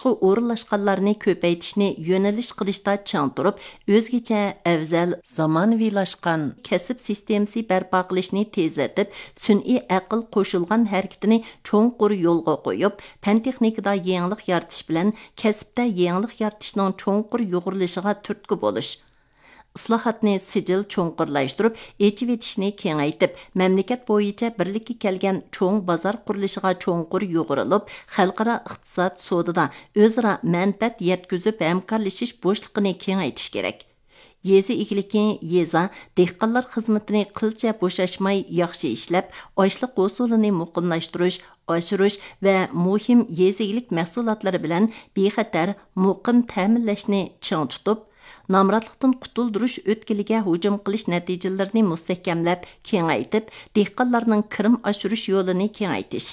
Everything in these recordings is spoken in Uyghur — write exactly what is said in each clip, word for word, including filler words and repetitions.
ئورۇنلاشقانلارنى كۆپەيتىشنى يۆنىلىش قىلىشتا چىڭ تۇرۇپ، ئۆزگىچە، ئەۋزەل، زامانىۋىلاشقان كەسىپ سىستېمىسى بەرپا قىلىشنى تېزلىتىپ، سۈنئىي ئەقىل قوشۇلغان ھەرىكىتىنى چوڭقۇر يولغا قويۇپ، پەن-تېخنىكىدا يېڭىلىق يارىتىش بىلەن كەسىپتە يېڭىلىق يارىتىشنىڭ چوڭقۇر يۇغۇرۇلۇشىغا تۈرتكە بولۇش. ئىسلاھاتنى سىجىل چوڭقۇرلاشتۇرۇپ، ئېچىۋېتىشنى كېڭەيتىپ، مەملىكەت بويىچە بىرلىككە كەلگەن چوڭ بازار قۇرۇلۇشىغا چوڭقۇر يۇغۇرۇلۇپ، خەلقئارا ئىقتىساد، سودىدا ئۆزئارا مەنپەئەت يەتكۈزۈپ ھەمكارلىشىش بوشلۇقىنى كېڭەيتىش كېرەك. يېزا ئىگىلىكى، يېزا، دېھقانلار خىزمىتىنى قىلچە بوشاشماي ياخشى ئىشلەپ، ئاشلىق ھوسۇلىنى مۇقىملاشتۇرۇش، ئاشۇرۇش ۋە مۇھىم يېزا ئىگىلىك مەھسۇلاتلىرى بىلەن بىخەتەر، مۇقىم تەمىنلەشنى چىڭ تۇتۇپ، نامراتلىقتىن قۇتۇلدۇرۇش ئۆتكىلىگە ھۇجۇم قىلىش نەتىجىلىرىنى مۇستەھكەملەپ، كېڭەيتىپ، دېھقانلارنىڭ كىرىم ئاشۇرۇش يولىنى كېڭەيتىش.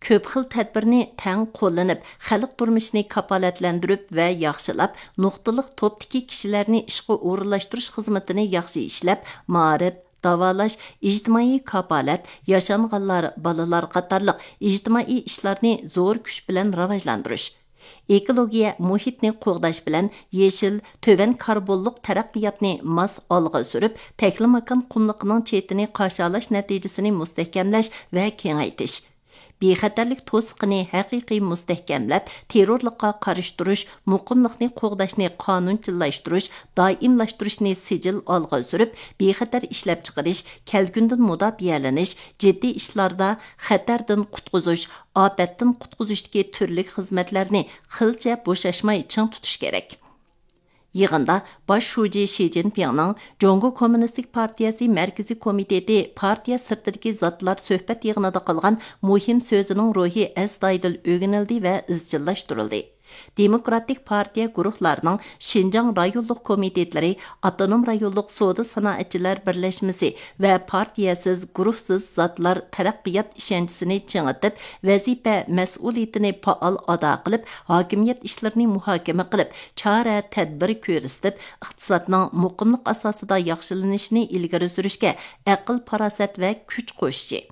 كۆپ خىل تەدبىرنى تەڭ قوللىنىپ، خەلق تۇرمۇشىنى كاپالەتلەندۈرۈپ ۋە ياخشىلاپ، نۇقتىلىق توپتىكى كىشىلەرنى ئىشقا ئورۇنلاشتۇرۇش خىزمىتىنى ياخشى ئىشلەپ، مائارىپ، داۋالاش، ئىجتىمائىي كاپالەت، ياشانغانلار، بالىلار قاتارلىق ئىجتىمائىي ئىشلارنى زور كۈچ بىلەن راۋاجلاندۇرۇش. ئېكولوگىيە مۇھىتنى قوغداش بىلەن يېشىل، تۆۋەن كاربونلۇق تەرەققىياتنى ماس ئالغا سۈرۈپ، تەكلىماكان قۇملۇقىنىڭ چېتىنى قاشالاش نەتىجىسىنى مۇستەھكەملەش ۋە كېڭەيتىش. بىخەتەرلىك توسۇقىنى ھەقىقىي مۇستەھكەملەپ، تېررورلۇققا قارشى تۇرۇش، مۇقىملىقنى قوغداشنى قانۇنچىللاشتۇرۇش، دائىملاشتۇرۇشنى سىجىل ئالغا سۈرۈپ، بىخەتەر ئىشلەپچىقىرىش، كەلكۈندىن مۇداپىئەلىنىش، جىددىي ئىشلاردا خەتەردىن قۇتقۇزۇش، ئاپەتتىن قۇتقۇزۇشتىكى تۈرلۈك خىزمەتلەرنى قىلچە بوشاشماي چىڭ تۇتۇش كېرەك. يىغىندا باش شۇجى شى جىنپىڭنىڭ جۇڭگو كوممۇنىستىك پارتىيەسى مەركىزىي كومىتېتى پارتىيە سىرتىدىكى زاتلار سۆھبەت يىغىنىدا قىلغان مۇھىم سۆزىنىڭ روھى ئەستايىدىل ئۆگىنىلدى ۋە ئىزچىللاشتۇرۇلدى. دېموكراتىك پارتىيە گۇرۇھلارنىڭ شىنجاڭ رايونلۇق كومىتېتلىرى، ئاپتونوم رايونلۇق سودا سانائەتچىلەر بىرلەشمىسى ۋە پارتىيەسىز، گۇرۇھسىز زاتلار تەرەققىيات ئىشەنچىسىنى چىڭىتىپ، ۋەزىپە مەسئۇلىيىتىنى پائال ئادا قىلىپ، ھاكىمىيەت ئىشلىرىنى مۇھاكىمە قىلىپ، چارە تەدبىر كۆرسىتىپ، ئىقتىسادنىڭ مۇقىملىق ئاساسىدا ياخشىلىنىشىنى ئىلگىرى سۈرۈشكە ئەقىل پاراسەت ۋە كۈچ قوشۇشى،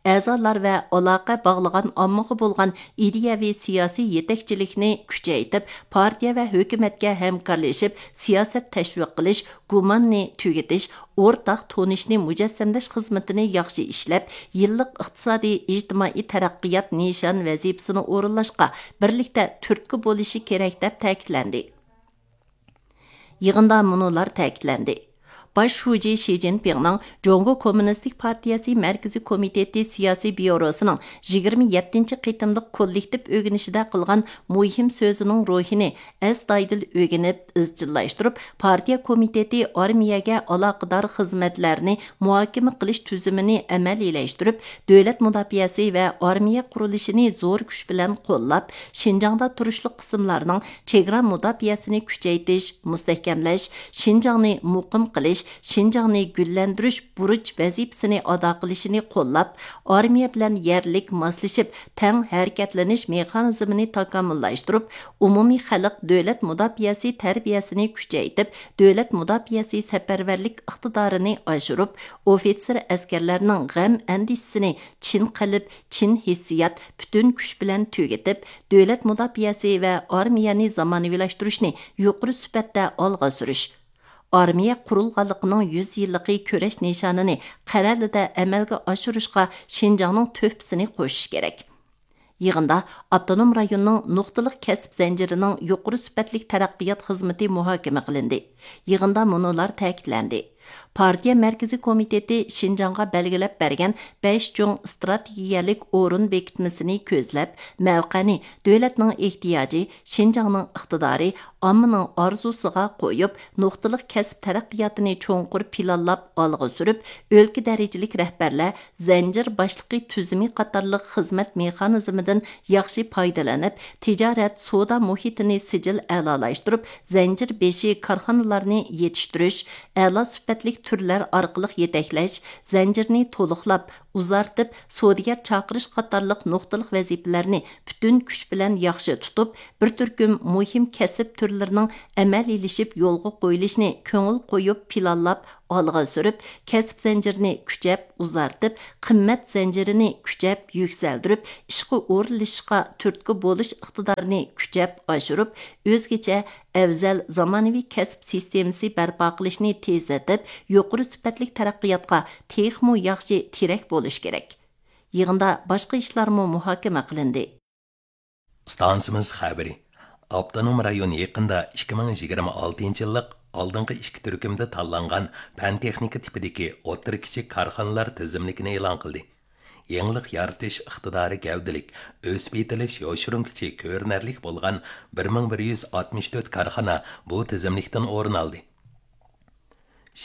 ئەزالار ۋە ئالاقە باغلىغان ئاممىغا بولغان ئىدىيەۋى سىياسىي يېتەكچىلىكنى كۈچەيتىپ، پارتىيە ۋە ھۆكۈمەتكە ھەمكارلىشىپ سىياسەت تەشۋىق قىلىش، گۇماننى تۈگىتىش، ئورتاق تونۇشنى مۇجەسسەملەش خىزمىتىنى ياخشى ئىشلەپ، يىللىق ئىقتىسادىي، ئىجتىمائىي تەرەققىيات نىشان ۋەزىپىسىنى ئورۇنلاشقا بىرلىكتە تۈرتكە بولۇشى كېرەك، دەپ تەكىتلەندى. يىغىندا مۇنۇلار تەكىتلەندى. باش شۇجى شى جىنپىڭنىڭ جۇڭگو كوممۇنىستىك پارتىيەسى مەركىزىي كومىتېتى سىياسىي بيۇروسىنىڭ يىگىرمە يەتتىنچى قېتىملىق كوللېكتىپ ئۆگىنىشىدە قىلغان مۇھىم سۆزىنىڭ روھىنى ئەستايىدىل ئۆگىنىپ، ئىزچىللاشتۇرۇپ، پارتىيە كومىتېتى ئارمىيەگە ئالاقىدار خىزمەتلەرنى مۇھاكىمە قىلىش تۈزۈمىنى ئەمەلىيلەشتۈرۈپ، دۆلەت مۇداپىئەسى ۋە ئارمىيە قۇرۇلۇشىنى زور كۈچ بىلەن قوللاپ، شىنجاڭدا تۇرۇشلۇق قىسىملارنىڭ چېگرا مۇداپىئەسىنى كۈچەيتىش، مۇستەھكەملەش، شىنجاڭنى مۇقىم قىلىش، شىنجاڭنى گۈللەندۈرۈش بۇرچ ۋەزىپىسىنى ئادا قىلىشىنى قوللاپ، ئارمىيە بىلەن يەرلىك ماسلىشىپ، تەڭ ھەرىكەتلىنىش مېخانىزمىنى تاكامۇللاشتۇرۇپ، ئومۇمىي خەلق دۆلەت مۇداپىئەسى تەربىيەسىنى كۈچەيتىپ، دۆلەت مۇداپىئەسى سەپەرۋەرلىك ئىقتىدارىنى ئاشۇرۇپ، ئوفىتسېر ئەسكەرلەرنىڭ غەم ئەندىشىسىنى چىن قەلب، چىن ھېسسىيات، پۈتۈن كۈچ بىلەن تۈگىتىپ، دۆلەت مۇداپىئەسى ۋە ئارمىيەنى زامانىۋىلاشتۇرۇشنى يۇقىرى سۈپەتتە ئالغا سۈرۈش، ئارمىيە قۇرۇلغانلىقىنىڭ يۈز يىللىقى كۈرەش نىشانىنى قەرەلىدە ئەمەلگە ئاشۇرۇشقا شىنجاڭنىڭ تۆھپىسىنى قوشۇش كېرەك. يىغىندا ئاپتونوم رايوننىڭ نۇقتىلىق كەسىپ زەنجىرىنىڭ يۇقىرى سۈپەتلىك تەرەققىيات خىزمىتى مۇھاكىمە قىلىندى. يىغىندا مۇنۇلار تەكىتلەندى. پارتىيە مەركىزىي كومىتېتى شىنجاڭغا بەلگىلەپ بەرگەن بەش چوڭ ئىستراتېگىيەلىك ئورۇن بېكىتمىسىنى كۆزلەپ، مەۋقەنى دۆلەتنىڭ ئېھتىياجى، شىنجاڭنىڭ ئىقتىدارى، ئاممىنىڭ ئارزۇسىغا قويۇپ، نۇقتىلىق كەسىپ تەرەققىياتىنى چوڭقۇر پىلانلاپ ئالغا سۈرۈپ، ئۆلكە دەرىجىلىك رەھبەرلەر زەنجىر باشلىقى تۈزۈمى قاتارلىق خىزمەت مېخانىزمىدىن ياخشى پايدىلىنىپ، تىجارەت، سودا مۇھىتىنى سىجىل ئەلالاشتۇرۇپ، زەنجىر بېشى كارخانىلارنى يېتىشتۈرۈش، ئەلا سۈپەتلىك تۈرلەر ئارقىلىق يېتەكلەش، زەنجىرنى تولۇقلاپ، ئۇزارتىپ، سودىگەر چاقىرىش قاتارلىق نۇقتىلىق ۋەزىپىلەرنى پۈتۈن كۈچ بىلەن ياخشى تۇتۇپ، بىر تۈركۈم مۇھىم كەسىپ تۈرلىرىنىڭ ئەمەلىيلىشىپ يولغا قويۇلۇشىنى كۆڭۈل قويۇپ پىلانلاپ، ئالغا سۈرۈپ، كەسىپ زەنجىرىنى كۈچەپ ئۇزارتىپ، قىممەت زەنجىرىنى كۈچەپ يۈكسەلدۈرۈپ، ئىشقا ئورۇنلىشىشقا تۈرتكە بولۇش ئىقتىدارىنى كۈچەپ ئاشۇرۇپ، ئۆزگىچە، ئەۋزەل زامانىۋى كەسىپ سىستېمىسى بەرپا قىلىشنى تېزلىتىپ، يۇقىرى سۈپەتلىك تەرەققىياتقا تېخىمۇ ياخشى تىرەك بولۇش كېرەك. يىغىندا باشقا ئىشلارمۇ مۇھاكىمە قىلىندى. ئىستانسىمىز خەۋىرى. ئاپتونوم رايون يېقىندا ئىككى مىڭ يىگىرمە ئالتىنچى يىللىق ئالدىنقى ئىككى تۈركۈمدە تاللانغان پەن تېخنىكا تىپىدىكى ئوتتۇرا كىچىك كارخانىلار تىزىملىكىنى ئېلان قىلدى. يېڭىلىق يارىتىش ئىقتىدارى گەۋدىلىك، ئۆسۈپ يېتىلىش يوشۇرۇن كۈچى كۆرۈنەرلىك بولغان بىر مىڭ بىر يۈز ئاتمىش تۆت كارخانا بۇ تىزىملىكتىن ئورۇن ئالدى.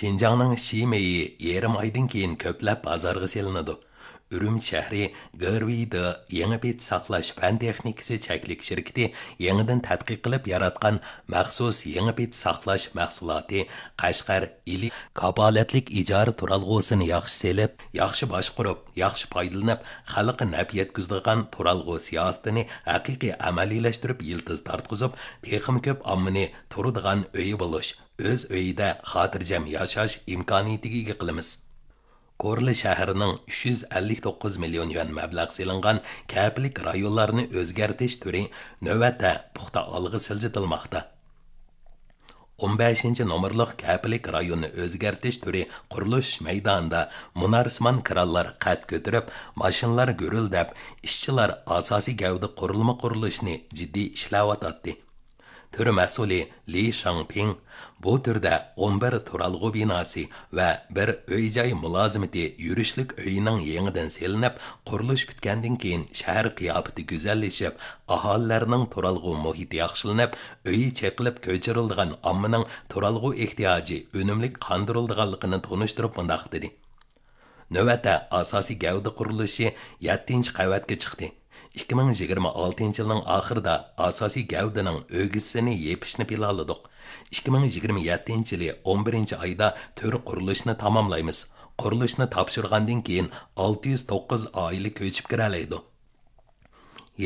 شىنجاڭنىڭ شىمېيى يېرىم ئايدىن كېيىن كۆپلەپ بازارغا سېلىنىدۇ. ئۈرۈمچى شەھىرى گېرۋىيدې يېڭى پېتى ساقلاش پەن تېخنىكىسى چەكلىك شىركىتى يېڭىدىن تەتقىق قىلىپ ياراتقان مەخسۇس يېڭى پېتى ساقلاش مەھسۇلاتى قەشقەر ئىلى كاپالەتلىك ئىجارە تۇرالغۇسىنى ياخشى سېلىپ، ياخشى باشقۇرۇپ، ياخشى پايدىلىنىپ، خەلققە نەپ يەتكۈزىدىغان تۇرالغۇ سىياسىتىنى ھەقىقىي ئەمەلىيلەشتۈرۈپ يىلتىز تارتقۇزۇپ، تېخىمۇ كۆپ ئاممىنى تۇرىدىغان ئۆيى بولۇش، ئۆز ئۆيىدە خاتىرجەم ياشاش ئىمكانىيىتىگە ئىگە قىلىمىز. كورلا شەھىرىنىڭ ئۈچ يۈز ئەللىك توققۇز مىليون يۈەن مەبلەغ سېلىنغان كەپىلىك رايونلارنى ئۆزگەرتىش تۈرى نۆۋەتتە پۇختا ئالغا سىلجىتىلماقتا. ئون بەشىنچى نومۇرلۇق كەپىلىك رايوننى ئۆزگەرتىش تۈرى قۇرۇلۇش مەيدانىدا مۇنارسىمان كرانلار قەد كۆتۈرۈپ، ماشىنىلار گۈرۈلدەپ، ئىشچىلار ئاساسىي گەۋدە قۇرۇلما قۇرۇلۇشىنى جىددىي ئىشلەۋاتاتتى. تۈر مەسئۇلى لى شاڭپىڭ بۇ تۈردە ئون بىر تۇرالغۇ بىناسى ۋە بىر ئۆي-جاي مۇلازىمىتى يۈرۈشلۈك ئۆيىنىڭ يېڭىدىن سېلىنىپ، قۇرۇلۇش پۈتكەندىن كېيىن شەھەر قىياپىتى گۈزەللىشىپ، ئاھالىلەرنىڭ تۇرالغۇ مۇھىتى ياخشىلىنىپ، ئۆيى چېقىلىپ كۆچۈرۈلىدىغان ئاممىنىڭ تۇرالغۇ ئېھتىياجى ئۈنۈملۈك قاندۇرۇلىدىغانلىقىنى تونۇشتۇرۇپ مۇنداق دېدى. نۆۋەتتە ئاساسىي گەۋدە قۇرۇلۇشى يەتتىنچى قەۋەتكە چىقتى. ئىككى مىڭ يىگىرمە ئالتىنچى يىلنىڭ ئاخىرىدا ئاساسىي گەۋدىنىڭ ئۆگزىسىنى يېپىشنى پىلانلىدۇق. ئىككى مىڭ يىگىرمە يەتتىنچى يىلى ئون بىرىنچى ئايدا تۈر قۇرۇلۇشىنى تاماملايمىز. قۇرۇلۇشنى تاپشۇرغاندىن كېيىن ئالتە يۈز توققۇز ئائىلە كۆچۈپ كىرەلەيدۇ.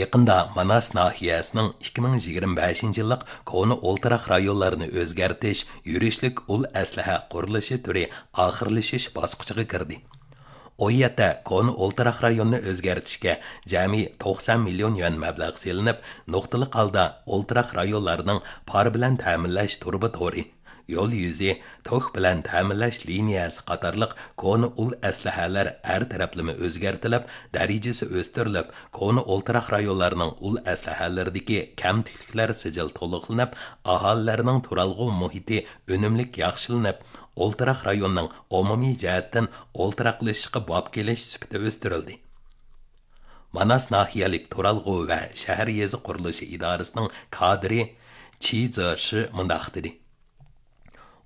يېقىندا ماناس ناھىيەسىنىڭ ئىككى مىڭ يىگىرمە بەشىنچى يىللىق كونا ئولتۇراق رايونلارنى ئۆزگەرتىش يۈرۈشلۈك ئۇل ئەسلىھە قۇرۇلۇشى تۈرى ئاخىرلىشىش باسقۇچىغا كىردى. ئۇ يەردە كونا ئولتۇراق رايوننى ئۆزگەرتىشكە جەمئىي توقسان مىليون يۈەن مەبلەغ سېلىنىپ، نۇقتىلىق ھالدا ئولتۇراق رايونلارنىڭ پار بىلەن تەمىنلەش تۇرۇبا تورى، يول يۈزى، توك بىلەن تەمىنلەش لىنىيەسى قاتارلىق كونا ئۇل ئەسلىھەلەر ھەر تەرەپلىمە ئۆزگەرتىلىپ، دەرىجىسى ئۆستۈرۈلۈپ، كونا ئولتۇراق رايونلارنىڭ ئۇل ئەسلىھەلىرىدىكى كەمتۈكلۈكلەر سىجىل تولۇقلىنىپ، ئاھالىلەرنىڭ تۇرالغۇ مۇھىتى ئۈنۈملۈك ياخشىلىنىپ، ئولتۇراق رايوننىڭ ئومۇمىي جەھەتتىن ئولتۇراقلىشىشقا باب كېلىش سۈپىتى ئۆستۈرۈلدى. ماناس ناھىيەلىك تۇرالغۇ ۋە شەھەر يېزا قۇرۇلۇشى ئىدارىسىنىڭ كادىرى چى زېشى مۇنداق دېدى: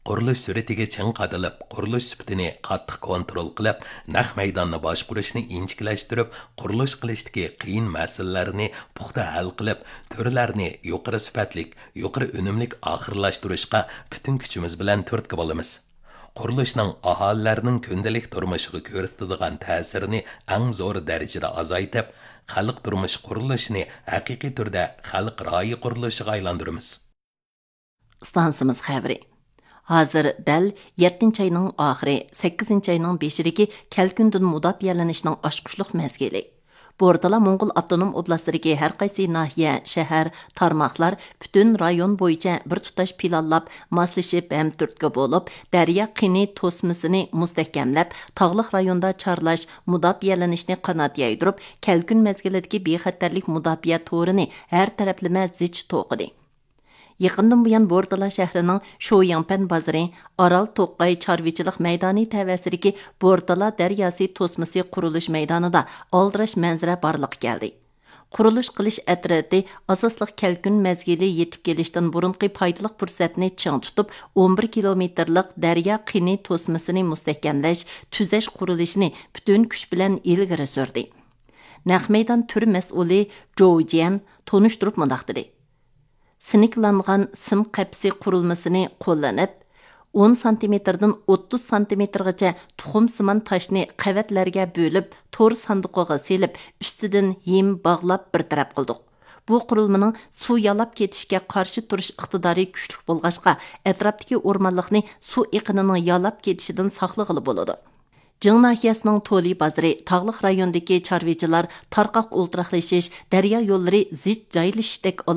قۇرۇلۇش سۈرئىتىگە چىڭ قادىلىپ، قۇرۇلۇش سۈپىتىنى قاتتىق كونترول قىلىپ، نەق مەيداننى باشقۇرۇشنى ئىنچىكىلەشتۈرۈپ، قۇرۇلۇش قىلىشتىكى قىيىن مەسىلىلەرنى پۇختا ھەل قىلىپ، تۈرلەرنى يۇقىرى سۈپەتلىك، يۇقىرى ئۈنۈملۈك ئاخىرلاشتۇرۇشقا پۈتۈن كۈچىمىز بىلەن تۈرتكە بولىمىز. قۇرۇلۇشنىڭ ئاھالىلەرنىڭ كۈندىلىك تۇرمۇشىغا كۆرسىتىدىغان تەسىرىنى ئەڭ زور دەرىجىدە ئازايتىپ، خەلق تۇرمۇشى قۇرۇلۇشىنى ھەقىقىي تۈردە خەلق رايى قۇرۇلۇشىغا ئايلاندۇرىمىز. ئىستانسىمىز خەۋىرى. ھازىر دەل يەتتىنچى ئاينىڭ ئاخىرى، سەككىزىنچى ئاينىڭ بېشىدىكى كەلكۈندىن مۇداپىئەلىنىشنىڭ ئاچقۇچلۇق مەزگىلى. بورتالا موڭغۇل ئاپتونوم ئوبلاستىدىكى ھەر قايسى ناھىيە، شەھەر، تارماقلار پۈتۈن رايون بويىچە بىر تۇتاش پىلانلاپ، ماسلىشىپ ھەم تۈرتكە بولۇپ، دەريا قىنى توسمىسىنى مۇستەھكەملەپ، تاغلىق رايوندا چارلاش، مۇداپىئەلىنىشنى قانات يايدۇرۇپ، كەلكۈن مەزگىلىدىكى بىخەتەرلىك مۇداپىئە تورىنى ھەر تەرەپلىمە زىچ توقۇدى. يېقىندىن بۇيان، بورتالا شەھىرىنىڭ شويىڭپەن بازىرى، ئارال توقاي چارۋىچىلىق مەيدانى تەۋەسىدىكى بورتالا دەرياسى توسمىسى قۇرۇلۇش مەيدانىدا ئالدىراش مەنزىرە بارلىققا كەلدى. قۇرۇلۇش قىلىش ئەترىتى ئاساسلىق كەلكۈن مەزگىلى يېتىپ كېلىشتىن بۇرۇنقى پايدىلىق پۇرسەتنى چىڭ تۇتۇپ، ئون بىر كىلومېتىرلىق دەريا قىنى توسمىسىنى مۇستەھكەملەش، تۈزەش قۇرۇلۇشىنى پۈتۈن كۈچ بىلەن ئىلگىرى سۈردى. نەق مەيدان تۈر مەسئۇلى جوۋ جيەن تونۇشتۇرۇپ مۇنداق دېدى: سىنكلانغان سىم قەپىسى قۇرۇلمىسىنى قوللىنىپ، ئون سانتىمېتىردىن ئوتتۇز سانتىمېتىرغىچە تۇخۇمسىمان تاشنى قەۋەتلەرگە بۆلۈپ، تور ساندۇقىغا سېلىپ، ئۈستىدىن ھىم باغلاپ بىر تەرەپ قىلدۇق. بۇ قۇرۇلمىنىڭ سۇ يالاپ كېتىشكە قارشى تۇرۇش ئىقتىدارى كۈچلۈك بولغاچقا، ئەتراپتىكى ئورمانلىقنى سۇ ئېقىنىنىڭ يالاپ كېتىشىدىن ساقلىغىلى بولىدۇ. جىڭ ناھىيەسىنىڭ تولى بازىرى، تاغلىق رايوندىكى چارۋىچىلار تارقاق ئولتۇراقلىشىش، دەريا يوللىرى زىچ جايلىشىشتەك